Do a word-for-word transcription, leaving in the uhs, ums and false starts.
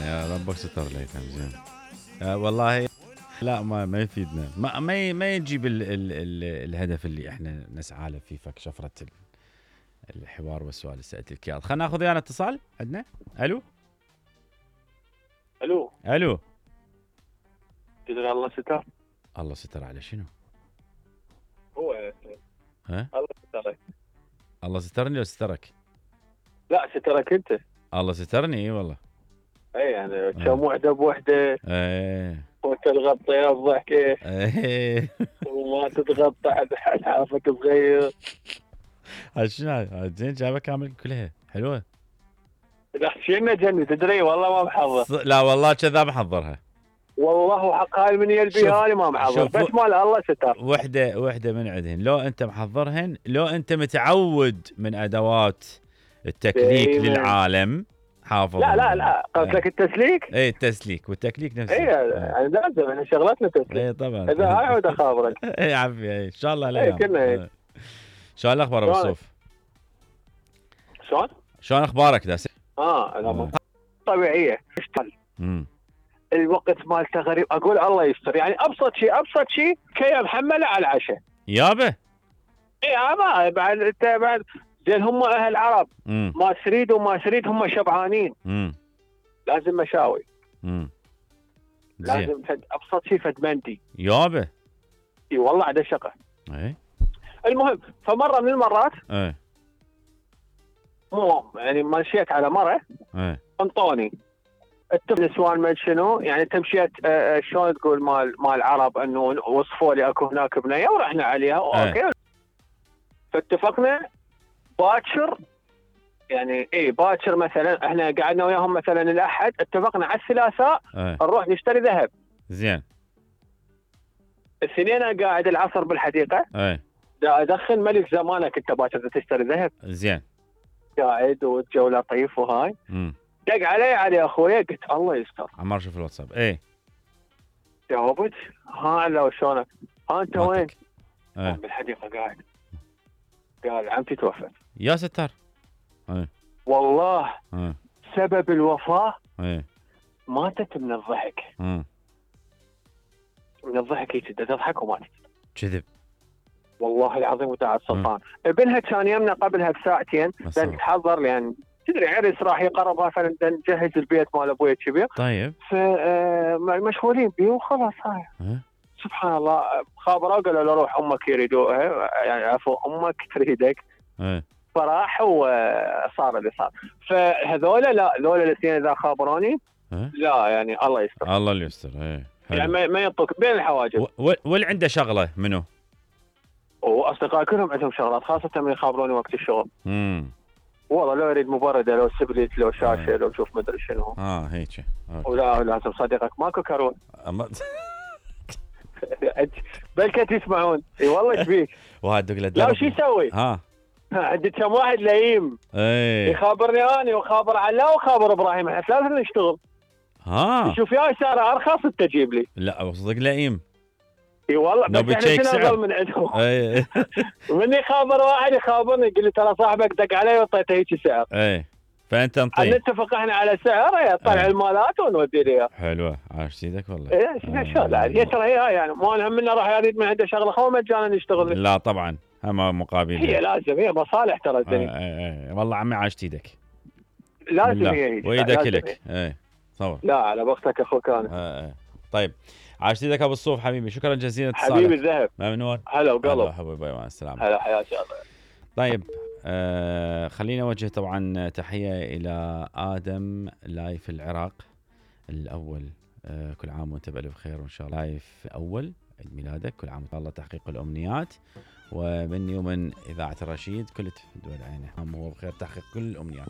يا ربك ستر ليثم زين. آه والله لا ما ما يفيدنا، ما ما ما يجيب ال ال ال الهدف اللي احنا نسعى له في فك شفره الحوار والسؤال اللي سالتك اياه. خلينا ناخذ ويانا اتصال عندنا. الو الو الو تدري الله ستر. الله ستر على شنو؟ هو ها الله سترك. الله سترني لو سترك؟ لا سترك انت. الله سترني اي والله. اي يعني كم وحده بوحده. ايه وتتغطي الضحكه. ايه وما تتغطى على حافك صغير. شنو زين جابها كامل كلها حلوه. لا شنو جني تدري والله ما محضر. لا والله كذاب محضرها. والله حق هاي من يلبيها لي ما محضر بس مال الله ستر. وحده وحده من عندهن لو انت محضرهن لو انت متعود من ادوات التكليك دايماً. للعالم حافظ. لا لا لا قصدك التسليك؟ اي التسليك والتكليك نفسه. اي يعني لازم احنا شغلتنا تسليك. اي طبعا. اذا هاي عود اخابرك. اي عفي اي ان شاء الله لا. اي كلنا هيك. شلون الاخبار ابو الصوف؟ شلون؟ شلون اخبارك داس؟ اه لا طبيعيه اشتغل. امم الوقت مالته غريب اقول الله يستر يعني ابسط شيء ابسط شيء كي محمله على العشاء. يابا اي ما بعد انت بعد زين هم اهل العرب امم ما تريد وما تريد هم شبعانين. امم لازم مشاوي. امم لازم فد ابسط شيء فد مندي. يابا اي والله عاد شقه. اي المهم فمره من المرات اي مو يعني مشيت على مره اي انطوني النسوان ما شنو يعني انت مشيت آه شلون تقول مال مال العرب انه وصفوا لي اكو هناك بنيه ورحنا عليها اوكي. فاتفقنا باكر يعني اي باكر مثلا احنا قعدنا وياهم مثلا الاحد اتفقنا على الثلاثاء نروح نشتري ذهب. زين الاثنين انا قاعد العصر بالحديقه. اي دا ادخل ملك زمانك انت باكر تشتري ذهب. زين قاعد والجو لطيف وهاي. امم دق علي علي اخويا قلت الله يستر. عمار شوف الواتساب. اي جاوبت ها لو شلونك ها انت وين؟ اي بالحديقه قاعد. قال عمتي توفت. يا ستار. اي والله اي سبب الوفاه اي ماتت من الضحك. امم من الضحك هيك تضحك وماتت. كذب والله العظيم وتعالى السلطان. ابنها كان يمنا قبلها بساعتين لان تحضر لان تدري عرس راح يقرب مثلا نجهز البيت مال ابوي كبير. طيب فمشغولين بيه وخلاص هاي. أه؟ سبحان الله خابروا قالوا له روح امك يريدوها يعني عفوا امك تريدك. أه؟ فراح وصار اللي صار. فهذولا لا ذولا الاثنين اذا خابروني أه؟ لا يعني الله يستر. الله اللي يستر. ايه يعني ما ما ينطق بين الحواجز. واللي عنده شغله منو؟ واصدقائي كلهم عندهم شغلات خاصه من يخابروني وقت الشغل. امم والله لو يريد مبرده لو سبليت لو شاشه لو شوف مدري شنو. اه هيك ولا لازم صديقك ماكو كرون. أما... بلكت يسمعون. اي والله ايش بيك؟ وهذا له لا شو يسوي؟ ها عندي كم واحد لئيم. ايه يخابرني اني وخابر علاء وخابر ابراهيم احنا ثلاثه نشتغل. ها شوف يا ساره ارخص انت تجيب لي. لا صدق لئيم. اي والله بس احنا شنو من عندهم. اي من يخابر واحد يخابرني يقول لي ترى صاحبك دق علي وعطيته هيك سعر. اي فانت انطي نتفق احنا على سعر طلع المالات ونودي لي. حلوه عاش سيدك والله. ايه شغله هي ترى هي يعني مو هم منا راح يريد من عنده شغله خو مجانا يشتغل. لا طبعا هم مقابل. هي لازم هي مصالح ترى الدنيا. اي اي والله عمي عاشت ايدك. لازم هي وايدك لك. اي صور. لا على وقتك اخوك انا. اي طيب عاشت ايدك ابو الصوف حبيبي شكرا جزيلا اتصالك. حبيبي الذهب. ممنون. هلا وقلب. حبيبي مع السلامه. هلا حياك الله. طيب آه خلينا نوجه طبعا تحية إلى آدم لايف العراق الأول. آه كل عام وانت بألف خير وإن شاء الله لايف أول عيد ميلادك كل عام وإن الله تحقيق الأمنيات. ومني ومن إذاعة الرشيد كل دول عينه عام وهو بخير تحقيق كل الأمنيات.